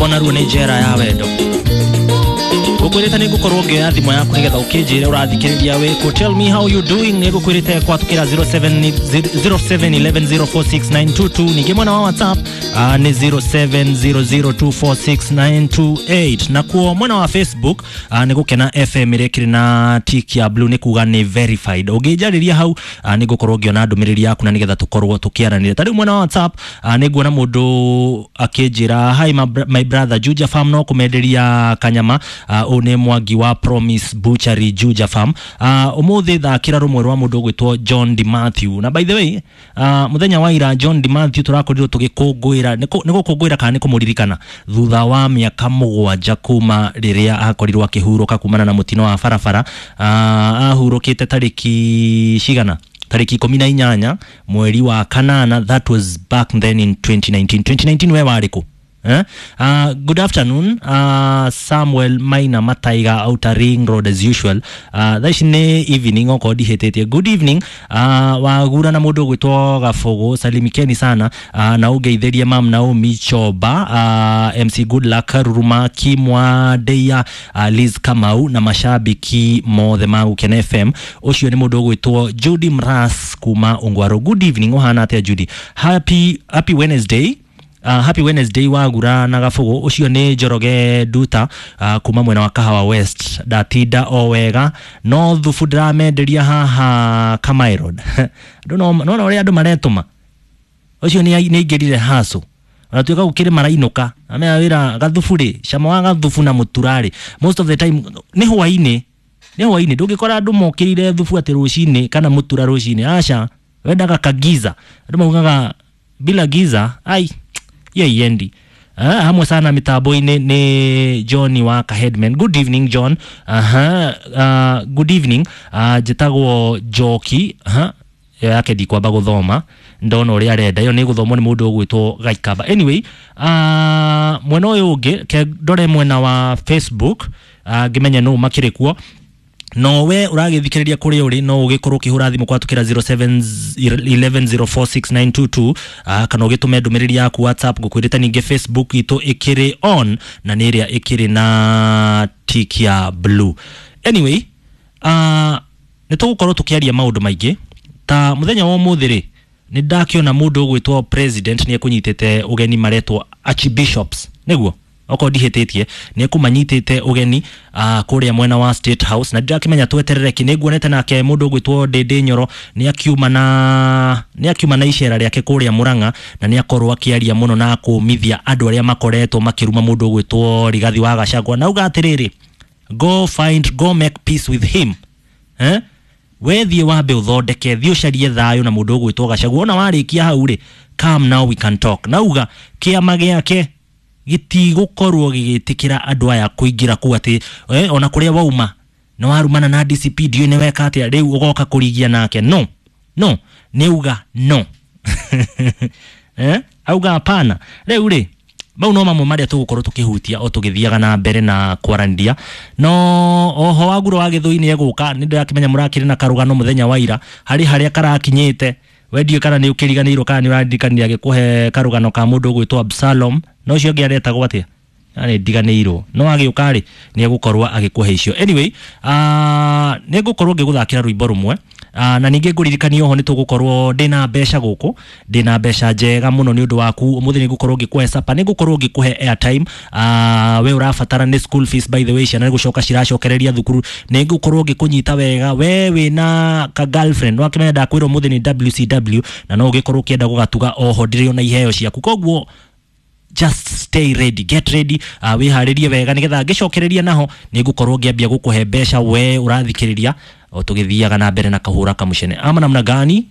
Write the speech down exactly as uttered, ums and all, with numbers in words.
Rwĩmbo naruo nĩ njera ya wendo. Ngũkwĩrĩte nĩ ngũkorwo ngĩoya thimũ yaku nĩgetha ũkĩnjĩre ũrathikĩrĩria wĩkũ. Tell me how you doing. Nĩ ngũkwĩrĩte kwatũkĩra zero seven zero seven one one zero four six nine two two. Ningĩ mwena wa WhatsApp uh, nĩ zero seven zero zero two four six nine two eight. Nakuo mwena wa Facebook uh, nĩ Gũkena F M ĩrĩa ĩkĩrĩ na tick ya blue, nĩ kuga nĩ verified. Ũngĩnjarĩria hau, uh, nĩ ngũkorwo ngĩona ndũmĩrĩri yaku na nĩgetha tũkorwo tũkĩaranĩria. Ta rĩu mwena wa WhatsApp, uh, nĩ nguona mũndũ akĩnjĩra, "Hi my, br my brother, Juja Farm no kũmenderia kanyama." uh, Ũyũ nĩ Mwangi wa Promise Butchery, Juja Farm. uh, ũmũthĩ thakĩra rũmwe rwa mũndũ ũgwĩtwo John D Matthew. Na by the way, uh, mũthenya wa ira John D Matthew tũrakorirwo tũgĩkũngũĩra, nĩ gũkũngũĩra kana nĩ kũmũririkana, thutha wa mĩaka mũgwanja kuma rĩrĩa akorirwo akĩhurũka kumana na mũtino wa barabara. uh, ahurũkĩte tarĩki cigana? Tarĩki ikũmi na inyanya mweri wa kanana. That was back then in twenty nineteen. twenty nineteen we warĩ kũ? Eh? Uh, good afternoon, uh, Samuel Maina Mataiga, Outer Ring Road as usual. Uh, thaa ici nĩ evening okorwo ndihĩtĩtie. Good evening, uh, wagura na mũndũ ũgwĩtwo Gabogo, salimikeni sana, uh, na ũngeithĩrie Mam Naomi Choba, uh, M C Goodluck Ruruma, Kimwa Ndeia, uh, Liz Kamau na mashabiki mothe ma Gũkena F M. Ũcio nĩ mũndũ ũgwĩtwo Judy Mras kuma Ungwaro. Good evening, ũhana atĩa Judy? Happy, happy Wednesday. Uh, happy Wednesday wagura na Gabugu. Ũcio nĩ Njoroge Nduta uh, kuma mwena wa Kahawa West. Ndatinda o wega, no thubu ndĩramenderia haha Kamae Road. Andũ no nona ũrĩa andũ maretũma. Ũcio nĩ nĩ aingĩrire haco ona tuĩka gũkĩrĩ marainũka amea wĩra gathubu rĩ, cama wa gathubu na mũtura rĩ, most of the time nĩ hwainĩ, nĩ hwainĩ. Ndũngĩkora andũ mokĩrire thubu atĩ rũcinĩ kana mũtura rũcinĩ, aca. Wendaga kagiza. Andũ maugaga bila giza ai hiyo iendi. Ah, hamwe sana mitambo-inĩ nĩ John wa Kaheadman. Good evening, John. Aha, uh, good evening. uh, njĩtagwo Njoki. Aha, ĩyo yake ndikwamba gũthoma, ndona ũrĩa arenda. Ĩyo nĩ gũthomwo nĩ mũndũ ũgwĩtwo Gaikamba. Anyway, uh, mwena ũyũ ũngĩ ke ndore mwena wa Facebook, uh, ngĩmenye nũ makĩrĩ kuo. No we ũragĩthikĩrĩria kũrĩa ũrĩ, no ũgĩkorwo ũkĩhũra thimũ kwatũkĩra zero seven one one zero four six nine two two, uh, kana ũgĩtũme ndũmĩrĩri yaku WhatsApp. Ngũkwĩrĩte ningĩ Facebook itũ ĩkĩrĩ on na nĩ ĩrĩa ĩkĩrĩ na tick ya blue. Anyway, uh, nĩ tũgũkorwo tũkĩaria maũndũ maingĩ. Ta mũthenya wa ũmũthĩ rĩ, nĩ ndakĩona mũndũ ũgwĩtwo president nĩ ekũnyitĩte ũgeni maretwo archbishops, nĩguo okorwo ndihĩtĩtie, nĩ ekũmanyitĩte ũgeni uh, kũrĩa mwena wa State House, na ndirakĩmenya tweterere kĩ. Nĩ nguonete nake mũndũ ũgwĩtwo Ndĩndĩ Nyoro nĩ akiuma na nĩ akiuma na icera rĩake kũrĩa Mũrang'a, na nĩ akorwo akĩaria mũno na kũmithia andũ arĩa makoretwo makĩruma mũndũ ũgwĩtwo Rigathi wa Gachagua, na auga atĩrĩrĩ, "Go find, go make peace with him." Eh? We thiĩ wambe ũthondeke, thiĩ ũcarie thayũ na mũndũ ũgwĩtwo Gachagua. Ona warĩkia hau rĩ, come now, we can talk. Nauga kĩama gĩake gĩtigũkorwo gĩgĩtĩkĩra andũ aya kũingĩra kũu, atĩ eh, ona kũrĩa wauma nĩ warumana na D C P, ndiũĩ nĩ weka atĩa, rĩu ũgoka kũrigia nake. No, no nĩ uga no, eh? Auga hapana. Rĩu rĩ, mau no mamwe marĩa tũgũkorwo tũkĩhutia o tũgĩthiaga na mbere na kwaranĩria. No oho waguro wa Gĩthũi nĩ egũka. Nĩ ndĩrakĩmenya mũrakĩrĩ na karũgano mũthenya wa ira harĩ harĩa karakinyĩte. We ndiũĩ kana nĩ ũkĩriganĩirwo kana nĩ ũraririkanire agĩkũhe karũgano ka mũndũ ũgwĩtwo Absalom na ũcio ũngĩ aretagwo atĩa, nĩ ndiganĩirwo. No agĩũka rĩ, nĩ egũkorwo agĩkũhe icio. Anyway, uh, nĩ ngũkorwo ngĩgũthakĩra rwĩmbo rũmwe. Uh, na ningĩ ngũririkania oho nĩ tũgũkorwo ndĩna mbeca gũkũ, ndĩna mbeca njega mũno nĩ ũndũ waku ũmũthĩ. Nĩ ngũkorwo ngĩkũhe sapa, nĩ ngũkorwo ngĩkũhe airtime. uh, we ũrabatara nĩ school fees, by the way, ciana nĩ gũcoka ciracokereria thukuru, nĩ ngũkorwo ngĩkũnyita wega. We wĩna ka girlfriend, wakĩmenya ndakwĩra ũmũthĩ nĩ W C W, na no ũgĩkorwo ũkĩenda gũgatuga. Oho ndĩrĩ ona iheo ciaku, koguo just stay ready, get ready, uh, wĩharĩrie wega nĩgetha ngĩcokereria naho nĩ ngũkorwo ngĩambia gũkũhe mbeca we ũrathikĩrĩria o tũgĩthiaga na mbere na kahũra kamucene ama namna gani.